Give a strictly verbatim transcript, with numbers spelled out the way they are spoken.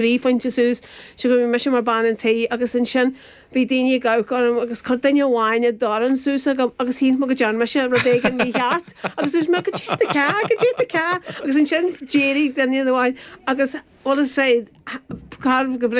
trí phointe suas so go mise mar bean an tí agus ansin bhí daoine ag amharc orm agus chuir duine amháin a dhorn suas agam agus shíl mé go ndearna mise rud éigin mícheart agus dúirt mé goidé tá goidé tá agus ansin d'éirigh duine amháin agus bhuel sé car go bhris